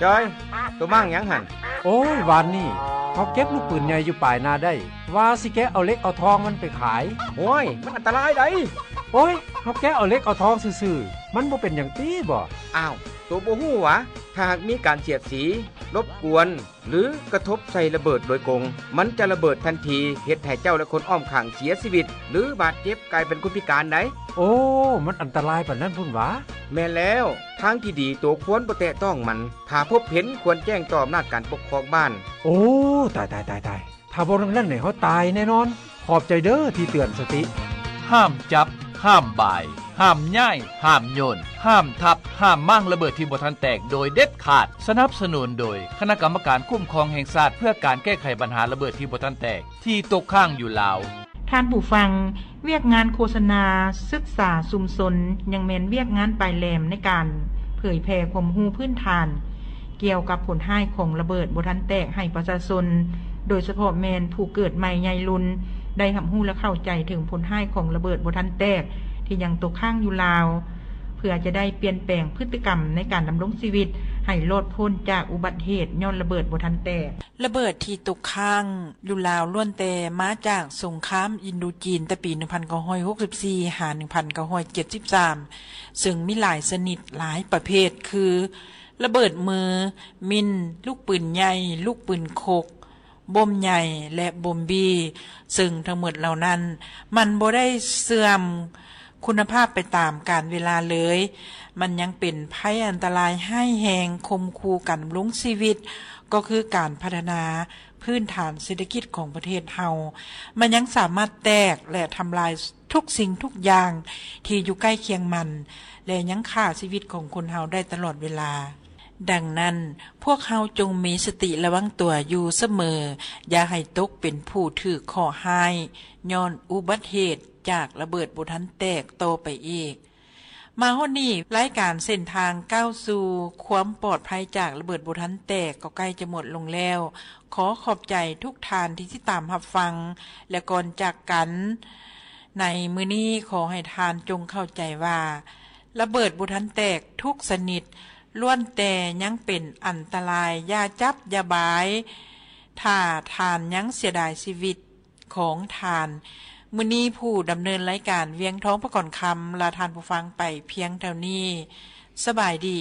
ຈອຍ, ໂຕມ້າງຫຍັງຫັ້ນ? ໂອ້ຍ, ວານນີ້ເຮົາເກັບລູກປືນໃຫຍ່ຢູ່ປາຍນາໄດ້, ວ່າຊິແກະເອົາເຫຼັກເອົາທອງມັນໄປຂາຍ. ໂອ້ຍ, ມັນອັນຕະລາຍໃດ໋. ໂອ້ຍ, ເຮົາແກະເອົາເຫຼັກເອົາທອງຊື່ໆ, ມັນບໍ່ເປັນຫຍັງຕິບໍ? ອ້າວ, ໂຕບໍ່ຮູ້ຫວາ? ຖ້າຫາກມີການສຽດສີ, ລົບກວນ ຫຼື ກະທົບໃສ່ລະເບີດໂດຍກົງ, ມັນຈະລະເບີດທັນທີ, ເຮັດໃຫ້ເຈົ້າ ແລະ ຄົນອ້ອມຂ້າງເສຍຊີວິດ ຫຼື ບາດເຈັບ, ກາຍເປັນຄົນພິການໄດ໋. ໂອ້, ມັນອັນຕະລາຍປານນັ້ນພຸ້ນຫວາ? ແມ່ນແລ້ວ, ທາງທີ່ດີໂຕຄວນບໍ່ແຕະຕ້ອງມັນ, ຖ້າພົບເຫັນຄວນແຈ້ງຕໍ່ອຳນາດການປົກຄອງບ້ານ. ໂອ້, ຕາຍ, ຕາຍ, ຕາຍ, ຕາຍ. ຖ້າບໍ່ດັ່ງນັ້ນນີ້ເຮົາຕາຍແນ່ນອນ. ຂອບໃຈເດີທີ່ເຕືອນສະຕິ. ຫ້າມຈັບ, ຫ້າມບາຍ, ຫ້າມຍ້າຍ, ຫ້າມໂຍນ, ຫ້າມທັບ, ຫ້າມມ້າງລະເບີດທີ່ບໍ່ທັນແຕກໂດຍເດັດຂາດ. ສະໜັບສະໜູນໂດຍຄະນະກຳມະການຄຸ້ມຄອງແຫ່ງຊາດເພື່ອການແກ້ໄຂບັນຫາລະເບີດທີ່ບໍ່ທັນແຕກທີ່ຕົກຄ້າງຢູ່ລາວ. ທ່ານຜູ້ຟັງ, ວຽກງານໂຄສະນາ, ສຶກສາຊຸມຊົນ ຍັງແມ່ນວຽກງານປາຍແຫຼມໃນການເຜີຍແຜ່ຄວາມຮູ້ພື້ນຖານ ກ່ຽວກັບຜົນຮ້າຍຂອງລະເບີດບໍ່ທັນແຕກໃຫ້ປະຊາຊົນ, ໂດຍສະເພາະແມ່ນຜູ້ເກີດໃໝ່ໃຫຍ່ລຸນ ໄດ້ຮັບຮູ້ ແລະ ເຂົ້າໃຈເຖິງຜົນຮ້າຍຂອງລະເບີດບໍ່ທັນແຕກທີ່ຍັງຕົກຄ້າງຢູ່ລາວ, ເພື່ອຈະໄດ້ປ່ຽນແປງພຶດຕິກຳໃນການດຳລົງຊີວິດໃຫ້ລອດພົ້ນຈາກອຸບັດເຫດຍ້ອນລະເບີດບໍ່ທັນແຕກ. ລະເບີດທີ່ຕົກຄ້າງຢູ່ລາວລ້ວນແຕ່ມາຈາກສົງຄາມອິນໂດຈີນແຕ່ປີໜຶ່ງພັນເກົ້າຮ້ອຍຫົກສິບສີ່ຫາໜຶ່ງພັນເກົ້າຮ້ອຍເຈັດສິບສາມ ເຊິ່ງມີຫຼາຍຊະນິດ, ຫຼາຍປະເພດ ຄື ລະເບີດມື, ມິນ, ລູກປືນໃຫຍ່, ລູກປືນຄົກ, ບົມໃຫຍ່ ແລະ ບົມບີ, ເຊິ່ງທັງໝົດເຫຼົ່ານັ້ນ ມັນບໍ່ໄດ້ເສື່ອມຄຸນນະພາບໄປຕາມການເວລາເລີຍ. ມັນຍັງເປັນໄພອັນຕະລາຍຮ້າຍແຮງຂົ່ມຂູ່ການດຳລົງຊີວິດ, ກໍຄືການພັດທະນາພື້ນຖານເສດຖະກິດຂອງປະເທດເຮົາ. ມັນຍັງສາມາດແຕກ ແລະ ທຳລາຍ ທຸກສິ່ງທຸກຢ່າງທີ່ຢູ່ໃກ້ຄຽງມັນ ແລະ ຍັງຂ້າຊີວິດຂອງຄົນເຮົາໄດ້ຕະຫຼອດເວລາ. ດັ່ງນັ້ນ, ພວກເຮົາຈົ່ງມີສະຕິລະວັງຕົວຢູ່ສະເໝີ, ຢ່າໃຫ້ຕົກເປັນຜູ້ຖືກເຄາະຮ້າຍຍ້ອນອຸບັດເຫດຈາກລະເບີດບໍ່ທັນແຕກຕໍ່ໄປອີກ. ມາຮອດນີ້, ລາຍການເສັ້ນທາງກ້າວສູ່ຄວາມປອດໄພຈາກລະເບີດບໍ່ທັນແຕກກໍໃກ້ຈະໝົດລົງແລ້ວ. ຂໍຂອບໃຈທຸກທ່ານທີ່ຕິດຕາມຮັບຟັງ ແລະ ກ່ອນຈາກກັນໃນມື້ນີ້, ຂໍໃຫ້ທ່ານຈົ່ງເຂົ້າໃຈວ່າ ລະເບີດບໍ່ທັນແຕກທຸກຊະນິດ ລ້ວນແຕ່ຍັງເປັນອັນຕະລາຍ. ຢ່າຈັບ, ຢ່າບາຍ, ຖ້າທ່ານຍັງເສຍດາຍຊີວິດ ຂອງທ່ານ. ມື້ນີ້ຜູ້ດຳເນີນລາຍການ ວຽງທອງ ປະກອນຄຳ ລາທ່ານຜູ້ຟັງໄປພຽງເທົ່ານີ້. ສະບາຍດີ.